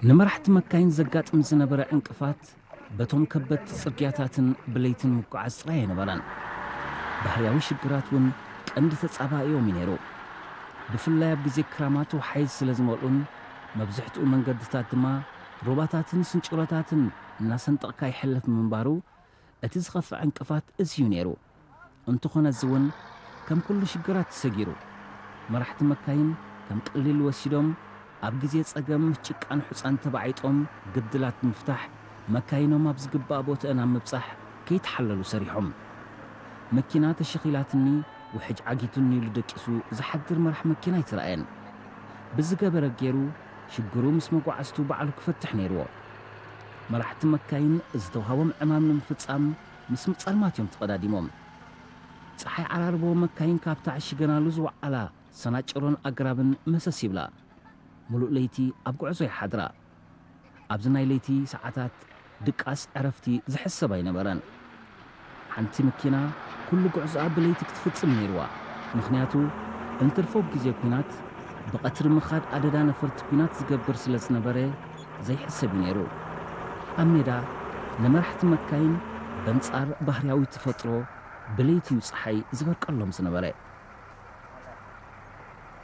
ንመራሕቲ መካይን ዘጋጥም ዝነበረ ዕንቅፋት በቶም ከበድቲ ጽርግያታትን ብለይትን ምጉዓዝ ጥራይ ኣይነበረን። ባህርያዊ ሽግራት እውን ቀንዲ ተጻባኢኦም እዩ ነይሩ። ብፍላይ ኣብ ግዜ ክራማት ወሓይዝ ስለ ዝመልኡን መብዝሕትኡ መንገድታት ድማ ሩባታትን ስንጭሮታትን እናሰንጠቕካ ይሕለፍ ምንባሩ፣ እቲ ዝኸፍእ ዕንቅፋት እዚ እዩ ነይሩ። እንተኾነ እዚ እውን ከም ኩሉ ሽግራት ተሰጊሩ። መራሕቲ መካይን ከም ቀሊል ወሲዶም ኣብ ግዜ ጸገም ምስ ጭቃን ሑጻን ተባዒጦም ግድላት ብምፍታሕ መካይኖም ኣብ ዝግባእ ቦትአን ኣብ ምብጻሕ ከይተሓለሉ ሰሪሖም። መኪና ተሸኺላትኒ ውሕጅ ዓጊቱኒ ኢሉ ደቂሱ ዝሓድር መራሕ መኪና ኣይተራእየን። ብዝገበረ ገይሩ ሽግሩ ምስ መጓዕዝቱ ባዕሉ ክፈትሕ ነይርዎ። መራሕቲ መካይን ዝተውሃቦም ዕማም ንምፍጻም ምስ ምጸልማት እዮም ተቐዳዲሞም። ጸሓይ ዓራርቦ መካይን ካብታ ዕሽገናሉ ዝወዓላ ሰናጭሮን ኣግራብን መሰስ ይብላ። ምሉእ ለይቲ ኣብ ጉዕዞ ይሓድራ። ኣብዚ ናይ ለይቲ ሰዓታት ድቃስ ዕረፍቲ ዝሕሰብ ኣይነበረን። ሓንቲ መኪና ኩሉ ጉዕዞኣ ብለይቲ ክትፍጽም ነይርዋ። ምኽንያቱ እንትርፎ ግዜ ኲናት ብቐትሪ ምኻድ ኣደዳ ነፈርቲ ኲናት ዝገብር ስለ ዝነበረ ዘይሕሰብ እዩ ነይሩ። ኣብ ሜዳ ንመራሕቲ መካይን በንጻር ባህርያዊ ተፈጥሮ ብለይቲ እዩ ጸሓይ ዝበርቀሎም ዝነበረ።